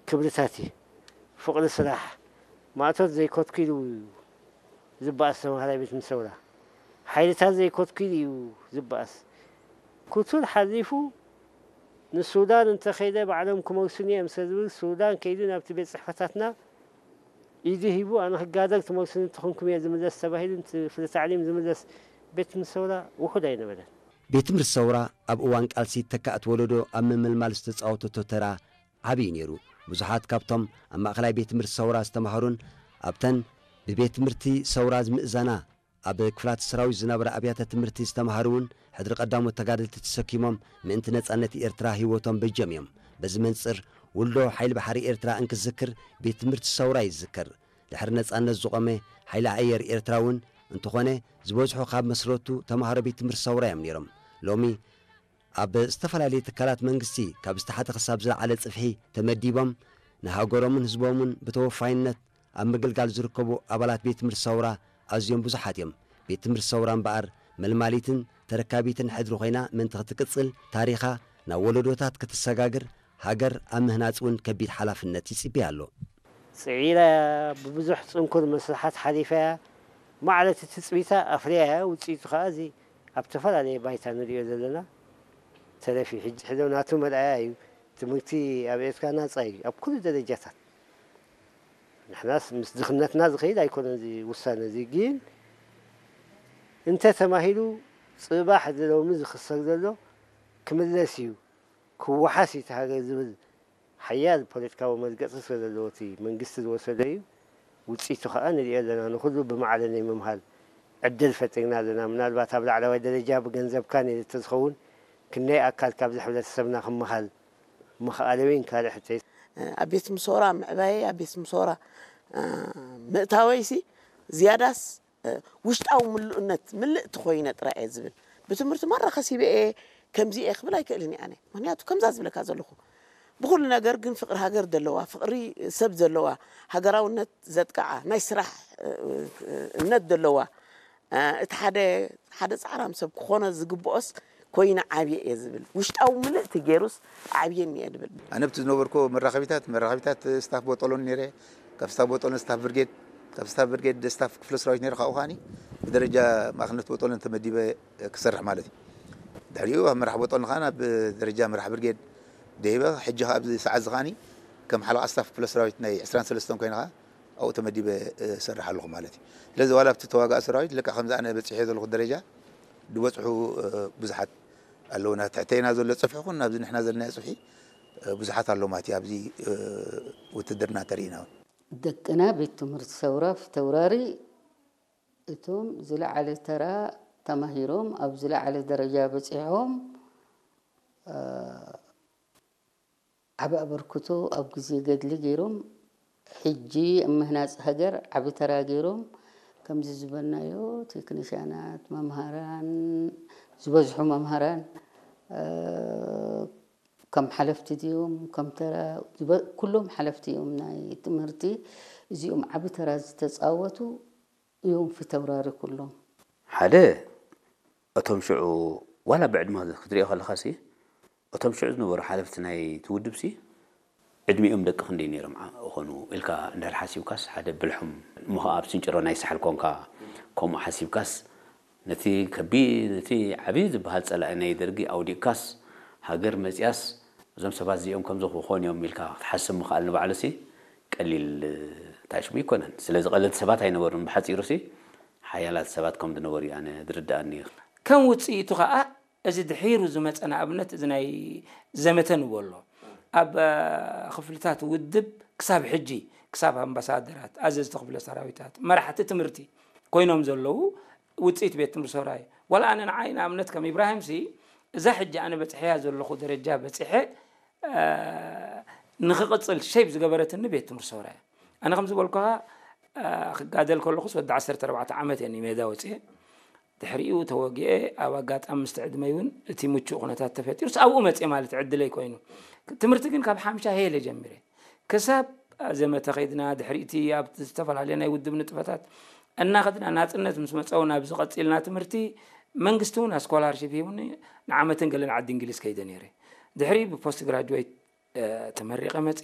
ክብርታት እዩ። ፍቕሪ ስራሕ፣ ማእቶት ዘይኮትኩ ኢሉ እዩ ዝበኣስ ተምሃራይ ቤት ምሰውራ። ሓይልታት ዘይኮትኩ ኢሉ እዩ ዝበኣስ። ክቱር ሓሊፉ ንሱዳን እንተኸይደ ባዕሎም ክመልሱኒ እዮም ስለ ዝብል፣ ሱዳን ከይዱ ናብቲ ቤት ጽሕፈታትና ኢዱ ሂቡ፣ ኣነ ክጋደል ትመልሱኒ እንተኾንኩም እየ ዝምለስ ተባሂሉ፣ እቲ ፍረ ታዕሊም ዝምለስ ቤት ትምህርቲ ሰውራ ውሑድ ኣይነበረን። ቤት ትምህርቲ ሰውራ ኣብ እዋን ቃልሲ ተካእቲ ወለዶ ኣብ ምምልማል ዝተጻወተቶ ተራ ዓብዪ ነይሩ። ብዙሓት ካብቶም ኣብ ማእኸላይ ቤት ትምህርቲ ሰውራ ዝተማሃሩን ኣብተን ብቤት ትምህርቲ ሰውራ ዝምእዘና ኣብ ክፍላት ሰራዊት ዝነበራ ኣብያተ ትምህርቲ ዝተማሃሩ እውን ሕድሪ ቀዳሞት ተጋደልቲ ተሰኪሞም ምእንቲ ነጻነት ኤርትራ ህይወቶም በጀም እዮም። በዚ መንጽር ውልዶ ሓይሊ ባሕሪ ኤርትራ እንክዝክር ቤት ትምህርቲ ሰውራ ይዝከር። ድሕሪ ነጻነት ዝቖመ ሓይሊ ኣየር ኤርትራ እውን እንተኾነ ዝበዝሑ ካብ መስረቱ ተማሃሮ ቤት ትምህርቲ ሰውራ እዮም ነይሮም። ሎሚ ኣብ ዝተፈላለየ ትካላት መንግስቲ ካብ ዝተሓተ ክሳብ ዝለዓለ ጽፍሒ ተመዲቦም ንሃገሮምን ህዝቦምን ብተወፋይነት ኣብ ምግልጋል ዝርከቡ ኣባላት ቤት ትምህርቲ ሰውራ ኣዝዮም ብዙሓት እዮም። ቤት ትምህርቲ ሰውራ እምበኣር መልማሊትን ተረካቢትን ሕድሪ ኮይና ምእንቲ ክትቅጽል ታሪኻ ናብ ወለዶታት ክትሰጋግር ሃገር ኣብ ምህናጽ እውን ከቢድ ሓላፍነት ይጽበያ ኣሎ። ጽዒራያ ብብዙሕ ጽንኩር መስርሓት ሓሊፋያ ማዕረ እቲ ትጽቢታ ኣፍርያያ ውጽኢቱ ከኣ እዚ ኣብ ዝተፈላለየ ባይታ ንሪኦ ዘለና ተረፍ እዩ። ሕጂ ሕዶ ናቱ መርኣያ እዩ። ትምህርቲ ኣብ ኤርትራ ናጻ እዩ ኣብ ኩሉ ደረጃታት። ንሕናስ ምስ ድኽነትና ዝኸይድ ኣይኮነን እዚ ውሳነ እዚ ግን እንተ ተማሂሉ ጽባሕ እዚ ሎሚ ዝኽሰር ዘሎ ክምለስ እዩ ክወሓስ እዩ እቲ ሃገር ዝብል ሓያል ፖለቲካዊ መርገጺ ስለ ዘለዎ እቲ መንግስቲ ዝወሰዶ እዩ። ውጽኢቱ ከኣ ንሪኦ ኣለና። ንኹሉ ብማዕረ ናይ ምምሃር ዕድል ፈጢርና ኣለና። ምናልባት ኣብ ላዕለዋይ ደረጃ ብገንዘብካ ነይሩ እንተዝኸውን ክንደይ ኣካል ካብዚ ሕብረተሰብና ክመሃል ምኽኣለ ወይ እንካልእ ሕቶይ። ኣብ ቤት ምሶራ ምዕባየይ ኣብ ቤት ምሶራ ምእታወይሲ ዝያዳስ ውሽጣዊ ምሉእነት ምልእቲ ኮይነ ጥራይ እየ ዝብል። ብትምህርቲ ማራ ከሲበ እየ ከምዚ እየ ክብል ኣይክእልን እየ ኣነ። ምክንያቱ ከምዛ ዝብለካ ዘለኹ ብኩሉ ነገር ግን ፍቅሪ ሃገር ዘለዋ ፍቅሪ ሰብ ዘለዋ ሃገራውነት ዘጥቅዓ ናይ ስራሕ እምነት ዘለዋ እቲ ሓደ ሓደ ጻዕራም ሰብ ክኾኖ ዝግብኦስ ኮይነ ዓብየ እየ ዝብል ውሽጣዊ ምልእቲ ገይሩስ ዓብየኒ እየ ዝብል። ኣነ ኣብቲ ዝነበርኩ መራኸቢታት መራኸቢታት ስታፍ ቦጦሎን ነይረ። ካብ ስታፍ ቦጦሎን ስታፍ ብርጌድ ካብ ስታፍ ብርጌድ ስታፍ ክፍለ ሰራዊት ነይረ ካብኡ ከዓኒ ብደረጃ ማእኸልነት ቦጦሎን ተመዲበ ክሰርሕ ማለት እዩ። ድሕሪኡ ኣብ መራሕ ቦጦሎን ከዓ ናብ ደረጃ መራሕ ብርጌድ ደይበ ሕጂ ከዓ ኣብዚ ሰዓት እዚ ከዓኒ ከም ሓለቓ ስታፍ ክፍለ ሰራዊት ናይ ዕስራን ሰለስተን ኮይነ ከዓ ኣብኡ ተመዲበ እሰርሕ ኣለኹ ማለት እዩ። ስለዚ ዋላ ኣብቲ ተዋጋኢ ሰራዊት ልክዕ ከምዚ ኣነ በፂሐ ዘለኹ ደረጃ ዝበፅሑ ብዙሓት ኣለውና ትሕተይና ዘሎ ፅፍሒ ኩን ኣብዚ ንሕና ዘለናዮ ፅፍሒ ብዙሓት ኣለዉ ማለት እዩ ኣብዚ ውትድርና ተሪኢና እውን። ደቅና ቤት ትምህርቲ ሰውራ ፊተውራሪ እቶም ዝለዓለ ተራ ተማሂሮም ኣብ ዝለዓለ ደረጃ በፂሖም ዓቢ ኣበርክቶ ኣብ ግዜ ገድሊ ገይሮም ሕጂ ኣብ ምህናጽ ሃገር ዓቢ ተራ ገይሮም ከምዚ ዝበልናዮ ቴክኒሻናት፣ መምሃራን ዝበዝሑ መምሃራን ከም ሓለፍቲ ድዮም ከም ተራ ኩሎም ሓለፍቲ እዮም ናይ ትምህርቲ እዚኦም ዓቢ ተራ ዝተጻወቱ እዮም ፊተውራሪ ኩሎም። ሓደ እቶም ሽዑ ዋላ ብዕድመ ክትሪኦ ከለኻሲ እቶም ሽዑ ዝነበሩ ሓለፍቲ ናይቲ ውድብሲ ዕድሚኦም ደቂ ክንደይ ነይሮም ዓ- ይኾኑ ኢልካ እንድሕር ሓሲብካስ ሓደ ብልሖም እሞ ኸዓ ኣብ ስንጭሮ ናይ ሳሕል ኮንካ ከምኡ ሓሲብካስ ነቲ ከቢድ ነቲ ዓብዪ ዝበሃል ጸላኢ ናይ ደርጊ ኣውዲቕካስ ሃገር መጺኣስ እዞም ሰባት እዚኦም ከምዚ ክኾኑ እዮም ኢልካ ክትሓስብ ምኽኣል ንባዕሉሲ ቀሊል ታሽሙ ኣይኮነን። ስለዚ ቀለልቲ ሰባት ኣይነበሩን። ብሓጺሩሲ ሓያላት ሰባት ከም ዝነበሩ እዩ ኣነ ዝርድኣኒ። ከም ውጽኢቱ ኸኣ እዚ ድሒሩ ዝመጸ ንኣብነት እዚ ናይ ዘመተ ንብሎ ኣሎ ኣብ ክፍልታት ውድብ ክሳብ ሕጂ ክሳብ ኣምባሳደራት ኣዘዝቲ ክፍለ ሰራዊታት መራሕቲ ትምህርቲ ኮይኖም ዘለዉ ውፅኢት ቤት ትምህርቲ ሰውራይ ዋላ ኣነ ንዓይ ንኣብነት ከም ኢብራሂም ሲ እዛ ሕጂ ኣነ በፅሐያ ዘለኹ ደረጃ በፅሐ ንክቕፅል ሸይብ ዝገበረትኒ ቤት ትምህርቲ ሰውራይ ኣነ ከም ዝበልኩኻ ክጋደል ከለኹስ ወዲ ዓሰርተ ኣርባዕተ ዓመት እየ ሜዳ ወፅአ ድሕሪኡ ተወጊአ ኣብ ኣጋጣሚ ምስቲ ዕድመይ እውን እቲ ምቹእ ኩነታት ተፈጢሩስ ኣብኡ መፅአ ማለት ዕድለይ ኮይኑ ትምህርቲ ግን ካብ ሓምሻ ሄለ ጀሚረ ክሳብ ዘመተ ከይድና ድሕሪቲ ኣብ ዝተፈላለዩ ናይ ውድብ ንጥፈታት እናኸድና ናፅነት ምስ መፀው ናብ ዝቐፂልና ትምህርቲ መንግስቲ እውን ኣስኮላርሽፕ ሂቡኒ ንዓመትን ገለን ዓዲ እንግሊዝ ከይደ ነይረ ድሕሪ ብፖስት ግራጅዌት ተመሪቐ መፅ